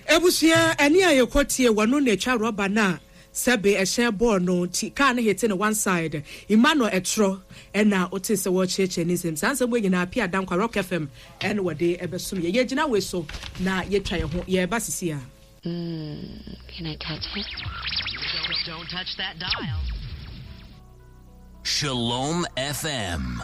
Abusua ɛne a yɛkɔ tie wɔno na ɛtwa rɔba no a sɛbe ɛhyɛn bɔɔ no nti car no hete no one side Emmanuel ɛtorɔ ɛna wote sɛ wɔrekyerɛkyerɛ ne nsɛm saa nsɛm wei nyinaa Pia Dankwa Rock FM ɛna wɔde ɛbɛsom yɛ yɛgyina wei so na yɛtwa yɛn ho yɛreba sisi a. Mm, can I touch it? Don't, don't touch that dial. Shalom FM.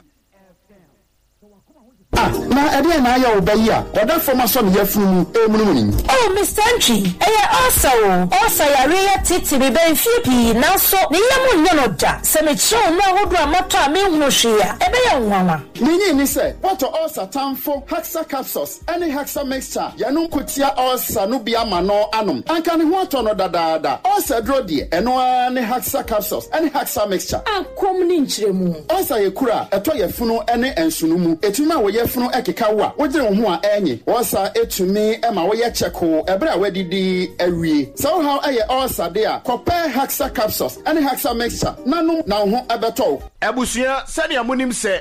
Ah, na ɛdeɛn na ayɛ wo ba yi a ɔda fam asɔ ne yafunu mu remunumunu yi? Oh, Mister Antwi, ɛyɛ ulcer o. Ulcer yareɛ yi atete me bɛn mfeɛ pii, nanso ne yam nyɛ no da. Sɛ mekyerɛ wo nnuro ahodoɔ a matɔ a menhunu hwee a, ɛbɛyɛ wo nwanwa. Minnye nni sɛ woatɔ ulcer tamfo Haxa Capsules ne Haxa Mixture a yɛnom ko tia ulcer no bi ama no anom. Anka ne ho atɔ no dadaada. Ulcer aduro deɛ, ɛno ara ne Haxa Capsules ne Haxa Mixture. Akɔm ne nkyerɛmu. Ulcer yɛ kuru a ɛtɔ yafunu ne nsono mu. Ɛtumi ma wo yafunu keka wo a wodwene wo ho a ɛnye. Ulcer tumi ma woyɛ kyɛkoo ɛberɛ a woadidi awie. Sɛ wo haw yɛ ulcer de a, kɔpɛ Haxa Capsules ne Haxa Mixture na nom na wo ho bɛtɔ wo. Abusua, sɛnea monim sɛ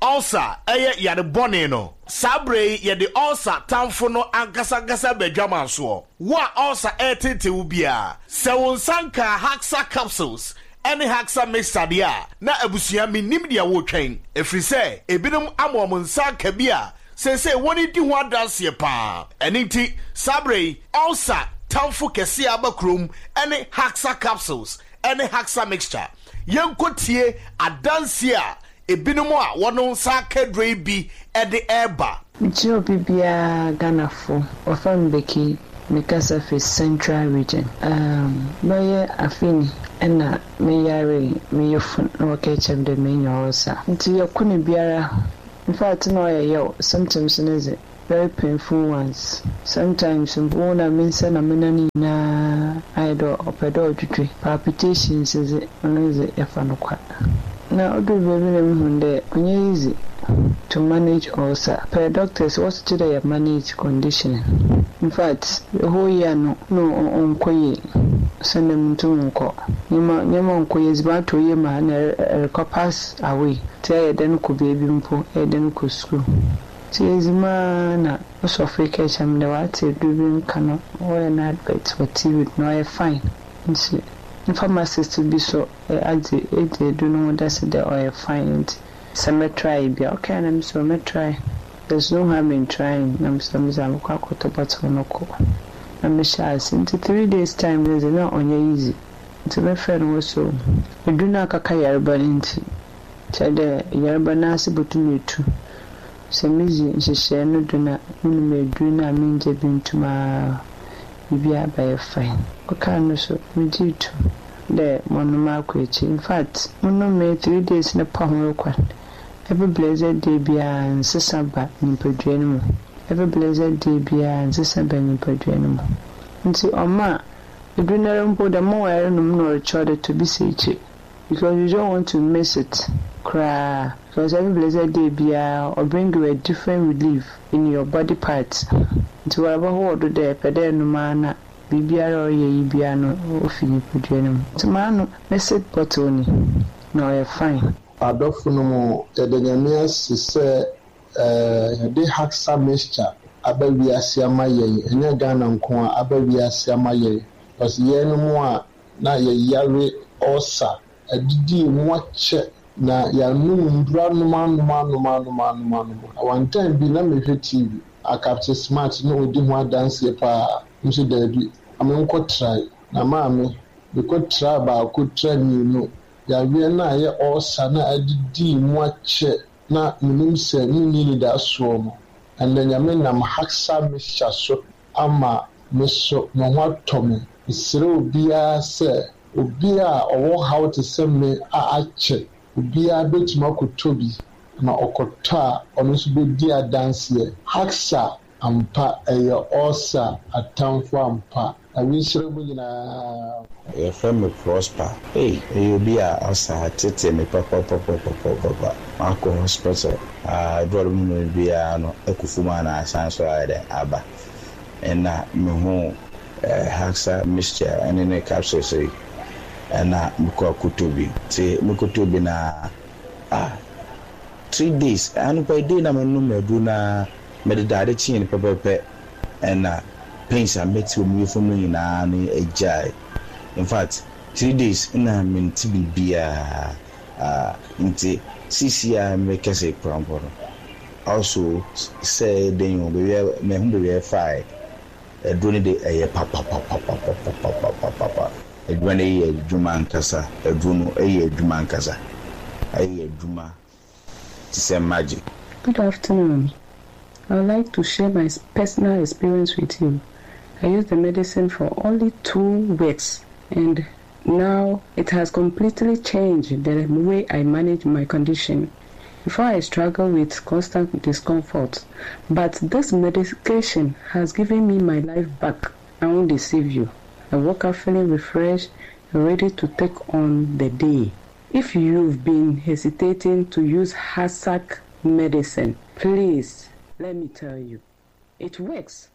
ulcer yɛ yare bɔne no, saa berɛ yi yɛde ulcer tamfo no ankasankasa ba adwaman soɔ. Wo a ulcer reteetee wo biara, sɛ wo nsa nkaa Haxa Capsules ne Haxa Mixture deɛ a, na abusua mennim deɛ woretwɛn, ɛfiri sɛ ebinom ama wɔn nsa aka bi a seesei wɔredi ho adanseɛ pa ara. Ɛno nti, saa berɛ yi, ulcer tamfo kɛseɛ a aba kurom ne Haxa Capsules. ne Haxa Mixture. Yɛnkɔtie adanseɛ a ebinom a wɔn nsa aka aduro yi bi de reba. Mekyerɛ obi biara Ghanafo, wɔfrɛ me Becky, me kasa firi Central Region. Erm bɛyɛ afe ni na me yaree me yefun na wɔkaa kyerɛ me dɛ menya ulcer. Ntsi yɛko no biara, infact nna ɔyɛ yaw, symptoms no dze very painful ones. Sometimes mpo wohu dɛ me nsa na me nan nyina ayɛ dɛ ɔpɛ dɛ ɔdwedwe. Palpitations dze, ɔno dze yɛfa no kwa. Na odur beebi na muhun dɛ ɔnnyɛ easy to manage ulcer. Per doctors wɔse gye dɛ yɛ manage condition. Infact the whole year no nna ɔnnkɔ yie osiandɛ munntum nnkɔ. Ndzɛmba ndzɛmba nnkɔ yie, edziban tɔ yie ma nna erokɔ pass away ntsi ayɛ dɛn kɔ beebi mpo, eyɛ dɛn kɔ skuul. Ntsi edzi mu ara na ɔsɔfo yi kaa kyerɛɛ me dɛ ɔatse edur bi nka no wɔyɛ no advert wɔ TV do na ɔyɛ fine ntsi ne pharmacist bi so adze edzi edur no ho dase dɛ ɔyɛ fine ntsi sɛ mɛ try bi a ɔkae na mese oh mɛ try there's no harm in trying na mese medze a mokɔ akɔtɔ bottle no kɔ na mehyɛɛ ase ntsi three days time no dze na ɔnnyɛ easy ntsi mefrɛ no wɔ so edur no akaka yarba no ntsi Kyerɛ dɛ, yarba n'ase botum etu. Sɛ midzi nhyehyɛɛ no do na monom edur no a menngya bi nntum a, biribiara bɛyɛ fine. Ɔkaa no so, megyee to mu dɛ mɔnom akɔ ekyir. Infact, monomee three days no pa ho rokɔ no, every blessed day biara nsesa ba nyimpadua no mu. Every blessed day biara nsesa ba nyimpadua no mu. Ntsi ɔmaa edur noara mpo, the more eronom no nna ɔrekyerɛw dɛ tɔ bi si ekyir. Because you don't want to miss it koraa because every blessed day biara ɔ bring you a different relief in your body part nti waraba hɔ wɔ do dɛ epɛ dɛ enom ara na biribiara a ɔreyɛ yi biara no ofi nyimpadua no mu ntsi manom me sit bottle ni na ɔyɛ fine. Adɔfo nom, yɛda Nyame ase sɛ yɛde Haxa mixture aba wiase ama yɛn, ɛnyɛ Ghana nko ara, aba wiase ama yɛn, cause yɛnom a na yɛyare ulcer, adidi mu akyɛ na yɛanom nnuru anom anom anom anom anom anom. Na one time bi na mehwɛ TV a Captain Smart na ɔdi ho adanseɛ paa, me nso daabi, ma menkɔ try. Na maame, mekɔ try baako, try mmienu, yareɛ no a ɛyɛ ulcer no a adidi mu akyɛ na menim sɛ menni anidasoɔ no, ɛnnɛ Nyame nam Haxa mixture so ama me so me ho atɔ me. Mesrɛ obiara sɛ, obi a ɔwɔ haw te sɛ me a akyɛ, obiara bɛtumi akɔtɔ bi, na ɔkɔtɔ a, ɔno nso bɛdi adanseɛ. Haxa ampa, ɛyɛ ulcer atamfo ampa. Nyame nhyira mo nyinaa. Yɛfrɛ me Prosper. Ei, meyɛ obi a ɔsa tete me papapapapapapa. Makɔ hospital a, aduru a wɔde ma me biara no, ɛkɔ fam a na asan nso ayɛ dɛn aba. Ɛna mehuu Haxa mixture ɛne ne capsules yi, ɛna mekɔ akɔtɔ bi. Nti mekɔtɔ bi no ara, ah, 3 days, anɔpa yi day na menom aduru no ara, mede da ade kyeeɛ no pɛpɛɛpɛ ɛna pains a mete wɔ me yafunu mu nyinaa no agyae. In fact, 3 days na mente biribiara. Ah, nti seesei a merekasa yi koraa mpo no, also sɛ ɛyɛ den o, baabi a mahu baabi a ɛfae, aduro no de ɛyɛ papapapapapapapapa. Adwuma no yɛ adwuma ankasa, aduro no yɛ adwuma ankasa, ɛyɛ adwuma te sɛ magic. Good afternoon. I would like to share my personal experience with you. I used the medicine for only 2 weeks and now it has completely changed the way I manage my condition. Before I struggled with constant discomfort, but this medication has given me my life back. I won't deceive you. I woke up feeling refreshed and ready to take on the day. If you've been hesitating to use Hassack medicine, please let me tell you, it works.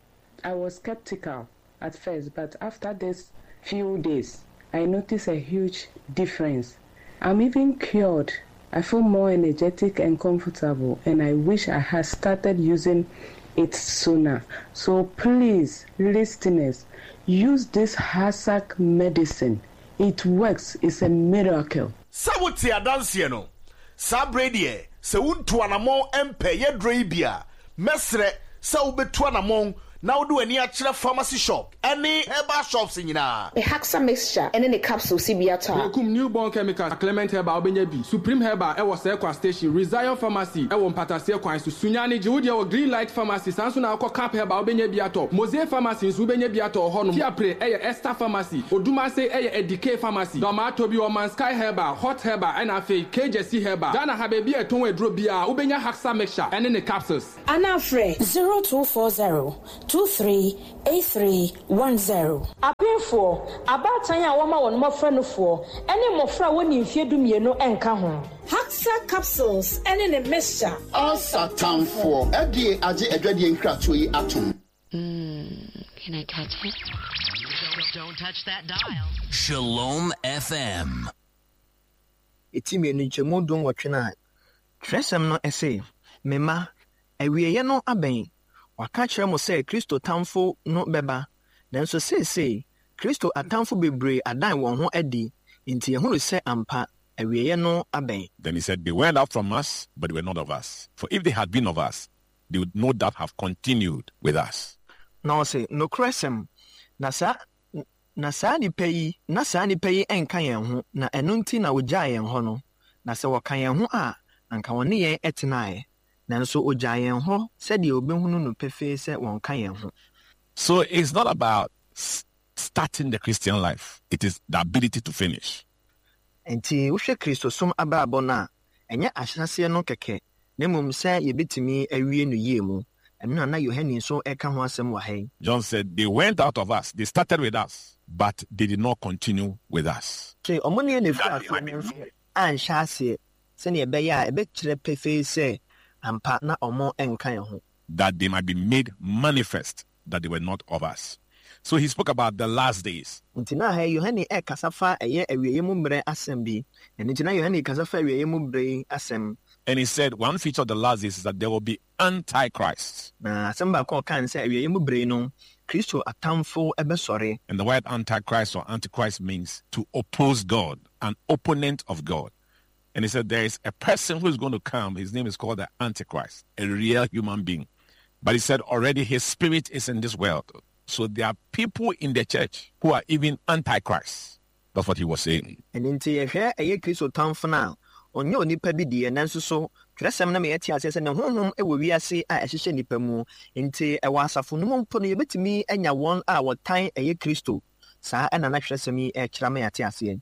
I was skeptical at first, but after this few days, I noticed a huge difference. I'm even cured. I feel more energetic and comfortable, and I wish I had started using it sooner. So please, listeners, use this Hassack medicine. It works. It's a miracle. Sɛ wote adanseɛ no, saa berɛ yi deɛ, sɛ wontu anammɔn mpɛ yɛdurɔ yi bi a, mɛsrɛ sɛ wobɛtu anammɔn. na wode w'ani akyerɛ pharmacy shop ne herbal shops nyinaa. Haxa mixture ne ne capsule si bi atɔ a. Berekum, New Born Chemicals, Clement Herbal wobɛnya bi, Supreme Herbal ɛwɔ Sɛɛkwa Station, Rezion Pharmacy ɛwɔ Mpataseɛ kwan so, Sunyani gye wo deɛ wɔ Green Light Pharmacy, saa nso na wokɔ Cap Herbal wobɛnya bi atɔ, Mosaic Pharmacy nso wobɛnya bi atɔ wɔ hɔnom, Fiapre ɛyɛ Esther Pharmacy, Odumase ɛyɛ Edikey Pharmacy, Dɔmaa Tobi wɔ Man Sky Herbal, Hot Herbal ɛna afei Kegyesi Herbal. Ghana ha baabi a yɛtɔn aduro biara wobɛnya Haxa Mixture ɛne ne capsules. Anaa frɛ 0240 23 8310. Apemfoɔ, abaatan a wɔma wɔn mmɔfra nufoɔ, ne mmɔfra a wɔnni mfeɛ dumienu nka ho. Haxa capsules ne ne mixture. Ulcer tamfoɔ. FDA agye adwadie nkratoɔ yi atom. Mm, can I touch it? Don't touch that dial. Shalom FM. Eti mmienu nkyɛmu dunwɔtwe no a, twerɛsɛm no se, Me mma, awieeɛ no abɛn. Wɔaka akyerɛ mo sɛ Kristo tamfo no bɛba, nanso seesei Kristo atamfo bebree adan wɔn ho adi, enti yɛhunu sɛ ampa, awieeɛ no abɛn. Then he said, They went out from us, but they were not of us. For if they had been of us, they would no doubt have continued with us. Na ɔse, Nokorɛsɛm, na saa, na saa nnipa yi, na saa nnipa yi nka yɛn ho, na ɛno nti na wɔgyaa yɛn hɔ no, na sɛ wɔka yɛn ho a, anka wɔne yɛn tenaeɛ, nanso wɔgyaa yɛn hɔ sɛdeɛ wɔbɛhunu no pefee sɛ wɔnka yɛn ho. So it's not about starting the Christian life, it is the ability to finish. Enti wohwɛ Kristosom abrabɔ no a, ɛnyɛ ahyɛaseɛ no kɛkɛ, na mmom sɛ yɛbɛtumi awie no yie mu. Ɛno na na Yohane nso reka ho asɛm wɔ ha yi. John said, They went out of us, they started with us, but they did not continue with us. Se wɔn ne yɛn na ɛfiri aseɛ nanso anhyɛ aseɛ, sɛdeɛ ɛbɛyɛ a ɛbɛkyerɛ pefee sɛ ampa na wɔn nka yɛn ho. That they might be made manifest that they were not of us. So he spoke about the last days. Nti na ha yi Yohane rekasa fa ɛyɛ awieeɛ mu mmerɛ asɛm bi. Ɛno nti na Yohane rekasa fa awieeɛ mu berɛ yi asɛm. And he said one feature of the last days is that there will be antichrists. Na asɛm baako a ɔkae ne sɛ awieeɛ mu berɛ yi no, Kristo atamfo bɛsɔre. And the word antichrist or antichrist means to oppose God, an opponent of God. And he said there is a person who is going to come. His name is called the Antichrist, a real human being. But he said already his spirit is in this world. So there are people in the church who are even antichrists. That's what he was saying. Ɛno nti yɛhwɛ ɛyɛ Kristo tamfo no a, ɔnyɛ onipa bi deɛ, nanso so twerɛsɛm no ma yɛte aseɛ sɛ ne honhom wɔ wiase a ɛhyehyɛ nnipa mu. Nti ɛwɔ asafo no mu mpo no yɛbɛtumi anya wɔn a wɔtan ɛyɛ Kristo. Saa na na twerɛsɛm yi rekyerɛ ama yɛate aseɛ.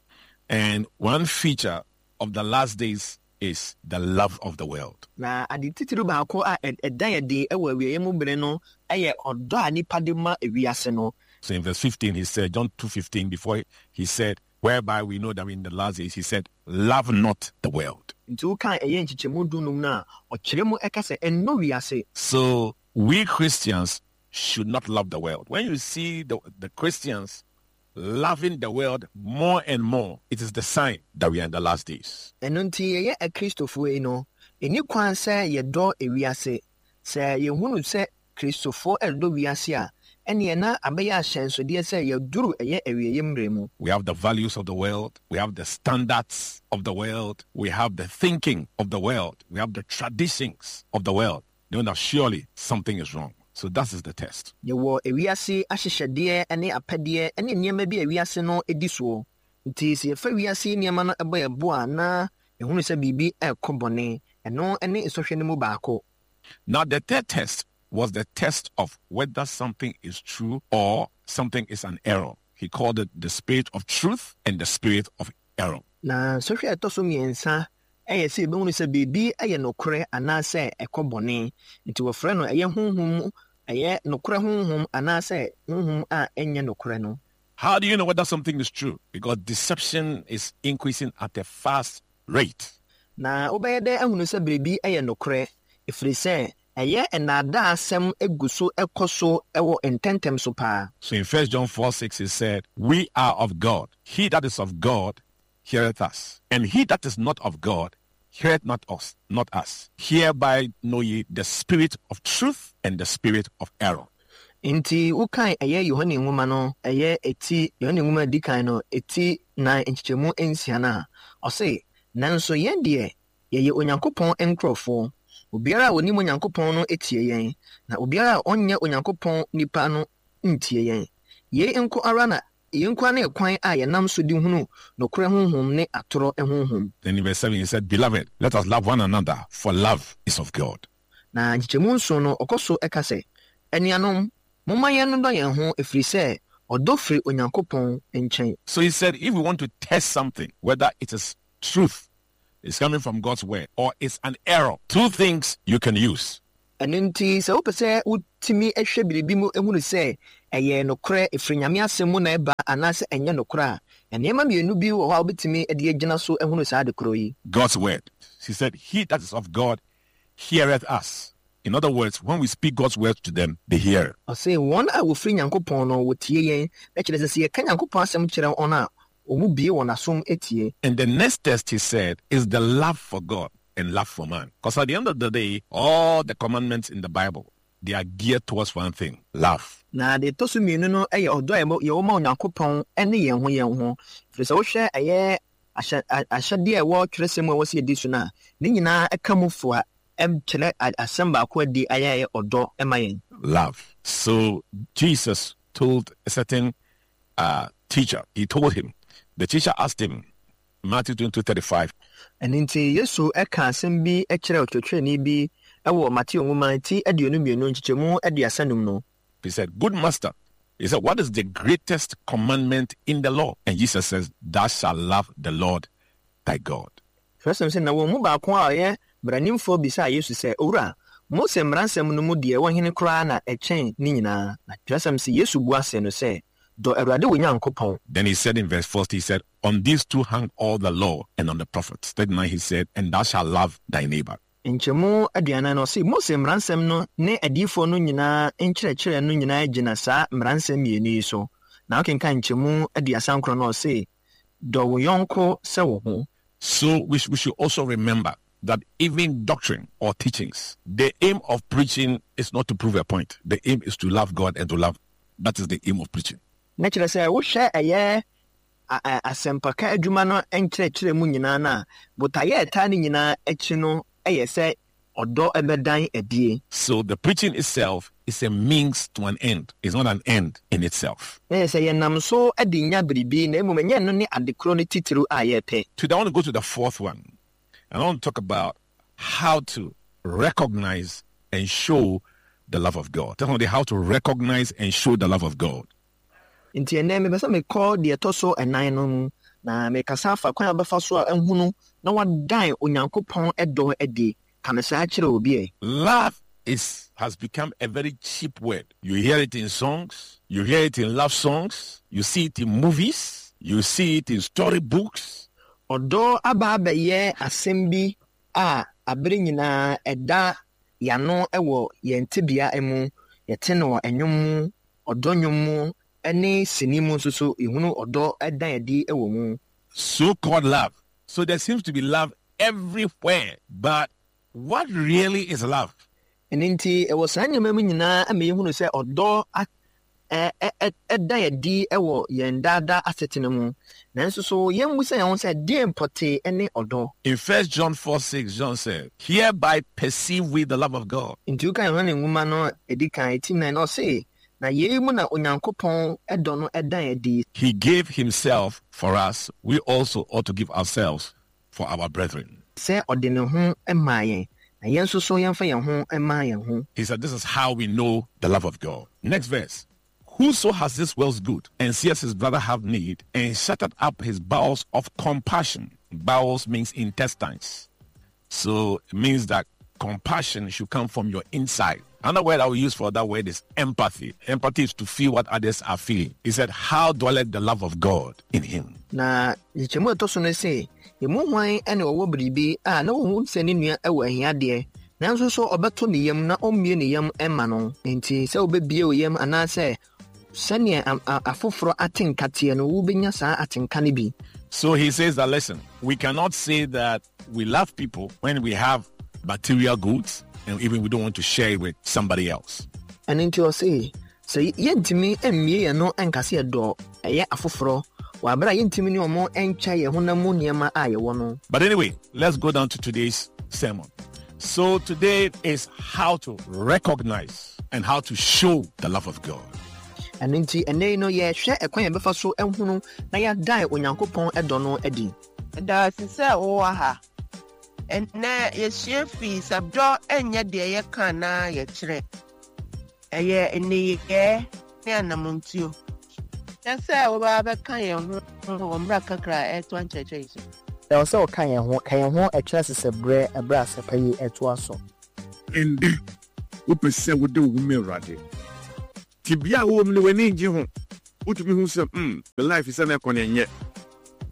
And one feature of the last days is the love of the world. Na ade titiriw baako a ɛda adi wɔ awieeɛ mu bere no yɛ ɔdɔ a nnipa de ma wiase no. So in verse 15 he said, John 2:15, before he said, whereby we know that we're in the last days, he said, love not the world. Nti wokan ɛyɛ nkyekyɛmu dunum no a, ɔkyerɛ mu ka sɛ, Nnɔ wiase. So we Christians should not love the world. When you see the, the Christians loving the world more and more, it is the sign that we are in the last days. Ɛno nti yɛyɛ Akristofoɔ yi no, ɛnni kwan sɛ yɛdɔ ewiase. Sɛ yɛhunu sɛ Kristofoɔ redɔ wiase a, ɛnneɛ na abɛyɛ ahyɛnsodeɛ sɛ yɛaduru ɛyɛ awieeɛ mmerɛ mu. We have the values of the world, we have the standards of the world, we have the thinking of the world, we have the traditions of the world. Know that surely something is wrong. So that is the test. Yɛwɔ ewiase ahyehyɛdeɛ ne apɛdeɛ ne nneɛma bi a wiase no di soɔ. Nti sɛ yɛfa wiase nneɛma no bɔ yɛn bo a, na yɛhunu sɛ biribi rekɔ bɔne. Ɛno ne nsɔhwɛ no mu baako. Now the third test was the test of whether something is true or something is an error. He called it the spirit of truth and the spirit of error. Na nsɔhwɛ a ɛtɔ so mmiɛnsa yɛ sɛ yɛbɛhunu sɛ biribi yɛ nokorɛ anaasɛ ɛkɔ bɔne. Nti wɔfrɛ no ɛyɛ honhom mu, ɛyɛ nokorɛ honhom anaasɛ honhom a ɛnyɛ nokorɛ no. How do you know whether something is true? Because deception is increasing at a fast rate. Na wobɛyɛ dɛn ahunu sɛ biribi yɛ nokorɛ? Ɛfiri sɛ ɛyɛ nnaadaasɛm gu so kɔ so wɔ ntɛmntɛm so paa. So in 1 John 4 6 he said, We are of God. He that is of God heareth us, and he that is not of God heareth not us, not us. Hereby know ye the spirit of truth and the spirit of error. Enti wokan ɛyɛ Yohane nwoma no ɛyɛ eti Yohane nwoma a edi kan no eti nan nkyekyɛmu nsia no a, ɔse, Nanso yɛn deɛ, yɛyɛ Onyankopɔn nkurɔfoɔ. Obiara a onim Onyankopɔn no tie yɛn, na obiara a ɔnyɛ Onyankopɔn nipa no ntie yɛn. Yei nko ara na yei nko ara ne kwan a yɛnam so de hunu nokorɛ honhom ne atorɔ honhom. Then in verse 7 he said, Beloved, let us love one another, for love is of God. Na nkyekyɛmu nson no, ɔkɔ so ka sɛ, Anuanom, momma yɛnnodɔ yɛn ho, ɛfiri sɛ ɔdɔ firi Onyankopɔn nkyɛn. So he said, if we want to test something, whether it is truth, is coming from God's word, or it's an error, two things you can use. Ɛno nti, sɛ wopɛ sɛ wotumi hwɛ biribi mu hunu sɛ ɛyɛ nokorɛ, ɛfiri Nyame asɛm mu na ɛba anaasɛ ɛnyɛ nokorɛ a, nneɛma mmienu bi wɔ hɔ a wobɛtumi de agyina so ahunu saa ade korɔ yi. God's word. He said, He that is of God heareth us. In other words, when we speak God's word to them, they hear. Ɔse, Wɔn a wɔfiri Nyankopɔn no, wɔtie yɛn. Na kyerɛ sɛ, sɛ yɛka Nyankopɔn asɛm kyerɛ wɔn a, wɔbue wɔn asom tie. And the next test, he said, is the love for God and love for man. Because at the end of the day, all the commandments in the Bible, they are geared towards one thing, love. Na deɛ ɛtɔ so mmienu no yɛ ɔdɔ a yɛwɔ ma Onyankopɔn ne yɛn ho yɛn ho. Ɛfiri sɛ wohwɛ ɛyɛ ahyɛ ahyɛdeɛ a ɛwɔ twerɛsɛm mu a ɛwɔ sɛ yɛdi so no a, ne nyinaa ka mu foa kyerɛ asɛm baako a adi ayɛ ɛyɛ ɔdɔ ma yɛn. Love. So Jesus told a certain uh, teacher, he told him, the teacher asked him, Matthew 22 35. Ɛno nti, Yesu ka asɛm bi kyerɛɛ ɔkyerɛkyerɛni bi wɔ Mateo nwoma ti 22 nkyekyɛmu 35 no. He said, Good master, he said, What is the greatest commandment in the law? And Jesus says, Thou shalt love the Lord thy God. Twerɛsɛm sɛ, Na wɔn mu baako a ɔyɛ mmaranimfoɔ bisaa Yesu sɛ, Owura, Mose mmaransɛm no mu deɛ ɛwɔ hene koraa na ɛkyɛn ne nyinaa? Na twerɛsɛm se Yesu bua see no sɛ, Dɔ Awurade wo Nyankopɔn. Then he said in verse 40, he said, On these two hang all the law and on the prophets. 39, he said, And thou shalt love thy neighbor. Nkyɛmu aduanan no, ɔse, Mose mmaransɛm no ne adiyifoɔ no nyinaa nkyerɛkyerɛ no nyinaa gyina saa mmaransɛm mmienu yi so. Na wokenkan nkyɛmu 39 no a, ɔse, Dɔ wo yɔnko sɛ wo ho. So we, we should also remember that even doctrine or teachings, the aim of preaching is not to prove a point. The aim is to love God and to love. That is the aim of preaching. Na kyerɛ sɛ wohwɛ ɛyɛ asɛmpaka adwuma no nkyerɛkyerɛ mu nyinaa no a, botaeɛ a ɛtaa ne nyinaa akyi no yɛ sɛ ɔdɔ bɛdan adie. So the preaching itself is a means to an end, it's not an end in itself. Na yɛ sɛ yɛnam so de nya biribi, na mmom ɛnyɛ ɛno ne ade korɔ no titiriw a yɛrepɛ. Today I want to go to the fourth one, and I want to talk about how to recognize and show the love of God. Tell somebody how to recognize and show the love of God. Nti ɛnnɛ mepɛ sɛ mekɔ deɛ ɛtɔ so ɛnan no mu, na mekasa afa kwan a wobɛfa so a ahunu na wadan Onyankopɔn dɔ adi. Ka no saa kyerɛ obi ɛ. Love is has become a very cheap word. You hear it in songs, you hear it in love songs, you see it in movies, you see it in story books. Ɔdɔ aba abɛyɛ asɛm bi a abere nyinaa ɛda yɛano wɔ yɛn tebea mu. Yɛte no wɔ nnwom mu, ɔdɔ nnwom mu, ne sini mu nso so yɛhunu ɔdɔ dan adi wɔ mu. So called love. So there seems to be love everywhere, but what really is love? Ɛno nti, ɛwɔ saa nneɛma mu nyinaa ma yɛhunu sɛ ɔdɔ ɛda adi wɔ yɛn daadaa asetena mu. Nanso so yɛmmisa yɛn ho sɛ deɛn pɔtee ne ɔdɔ? In 1 John 4 6, John said, Hereby perceive we the love of God. Nti woka Yohane nwoma no ɛdi kan ti nan na ɔse, Na yei mu na Onyankopɔn dɔ no dan adi. He gave himself for us, we also ought to give ourselves for our brethren. Sɛ ɔde ne ho maa yɛn, na yɛn nso so yɛmfa yɛn ho mma yɛn ho. He said, This is how we know the love of God. Next verse. Whoso has this world's good and sees his brother have need and shutteth up his bowels of compassion. Bowels means intestines. So it means that compassion should come from your inside. Another word I will use for that word is empathy. Empathy is to feel what others are feeling. He said, How dwelleth the love of God in him? Na nkyekyɛmu a ɛtɔ so no se, Emu hwan na ɔwɔ biribi a na ohu sɛ ne nua wɔ ahiadeɛ, nanso so ɔbɛto ne yam na ɔmmue ne yam mma no? Enti sɛ wobɛbue wo yam anaasɛ sɛnea afoforɔ ate nka teɛ no, wobɛnya saa atenka no bi. So he says that listen, we cannot say that we love people when we have material goods and even we don't want to share it with somebody else. Ɛno nti ɔse, sɛ yɛntumi mmue yɛn ano nka sɛ yɛdɔ ɛyɛ afoforɔ wɔ abere a yɛntumi ne wɔn nkyɛ yɛn honam mu nneɛma a yɛwɔ no. But anyway, let's go down to today's sermon. So today is how to recognize and how to show the love of God. Ɛno nti, ɛnnɛ yi no, yɛrehwɛ ɛkwan a yɛbɛfa so ahunu na yɛadan Onyankopɔn dɔ no adi. Meda wo ase sɛ wowɔ ha. Ɛnnɛ yɛsua fii sɛ dɔ nyɛ deɛ yɛka anaa yɛkyerɛ. Ɛyɛ nneyɛɛ ne anamontuo. Kyɛ sɛ wobɛba abɛka yɛn ho wɔ mmra kakra a ɛretoa nkyerɛkyerɛ yi so. Ɛwɔ sɛ woka yɛn ho. Ka yɛn ho kyerɛ sesɛberɛ ɛberɛ a asɛpa yi retoa so. Ɛnnɛ, wopɛ sɛ wode wo ho ma Awurade. Tebea a wowɔ mu no, w'ani nnye ho. Wotumi hu sɛ, hmm, me life sɛnea ɛkɔ no, ɛnyɛ.